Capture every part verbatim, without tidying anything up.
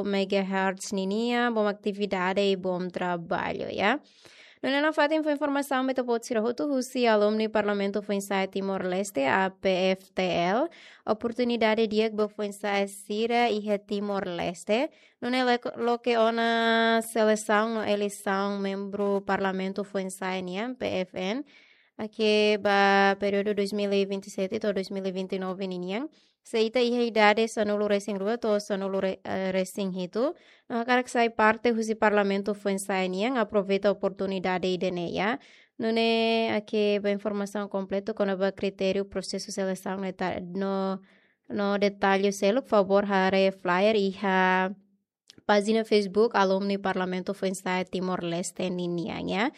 megahertz ninian, bom atividade i bom trabalho, ya. Nune'e nafatin fó informasaun ba ita-boot sira hotu husi alumni Parlamentu Foinsa'e Timor-Leste, A P F T L, oportunidade di'ak ba foinsa'e sira iha Timor-Leste. Nune'e lek-, loke ona selesaun no eleisaun membru Parlamentu Foinsa'e nian, P F N, ake ba períodu dois mil e vinte e sete to'o dois mil e vinte e nove ninian. Se ita iha idade sanulu resin rua to'o sanulu re-, eh, resin hitu, no hakarak sai parte husi Parlamentu Foinsa'e nian, aproveita oportunidade ida-ne'e, ya. Nune'e ake ba informasaun kompletu kona-ba kritériu prosesu selesaun no deta-, no, no detalle seluk, favór haree flyer iha pájina Facebook Alumni Parlamentu Foinsa'e Timor-Leste ninian, ya.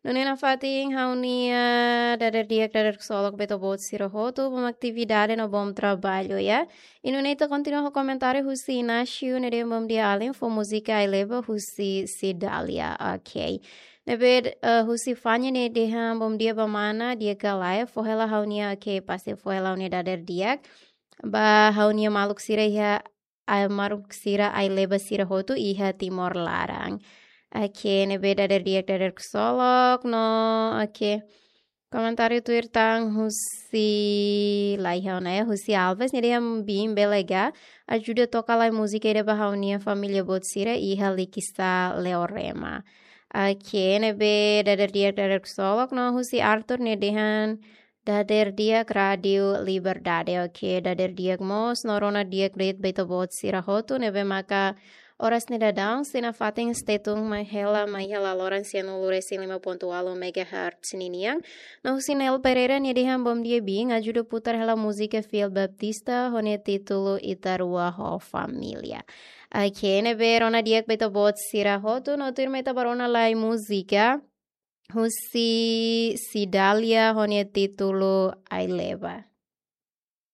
Nune'e nafatin ha'u-nia dadeer di'ak, dadeer ksolok ba ita-boot sira hotu, bom atividade no bom trabalho, ya. I nune'e ita kontinua ho komentáriu husi Inácio, ne'e dehan bom dia alin, fó múzika Ai Leba husi Cidália, ok. Ne'ebé, eh, husi Fanya ne'e dehan bom dia ba mana, di'ak ka lae, fó hela ha'u-nia, ok, pasti fó hela ha'u-nia dadeer di'ak ba ha'u-nia maluk sira iha, ah, maluk sira Ai Leba sira hotu iha Timor laran. Ok, ne'ebé dadeer di'ak, dadeer ksolok, no, ok. Komentáriu tuir tan husi, laiha ona, ya, husi Alves, ne'e dehan biin bele ga ajuda toka lai múzika ida ba ha'u-nia família boot sira iha Likisá Leorema. Ok, ne'ebé dadeer di'ak, dadeer ksolok, no husi Arthur, ne'e dehan dadeer di'ak Rádiu Liberdade. Ok, dadeer di'ak mós, no rona di'ak de'it ba ita-boot sira hotu, ne'ebé maka oras ne'e daudaun, sei nafatin stay tune mai hela, mai hela loron sianulu resin lima pontu ualu megahertz ninian. No husi Nel Pereira, ne'e dehan bom dia biin, ajuda putar hela múzika Fiel Baptista, ho nia títulu Ita Rua ho Família. Ok, ne'ebé rona di'ak ba ita-boot sira hotu, no tuirmai ita ba rona lai múzika husi Cidália ho nia títulu Ai Leba.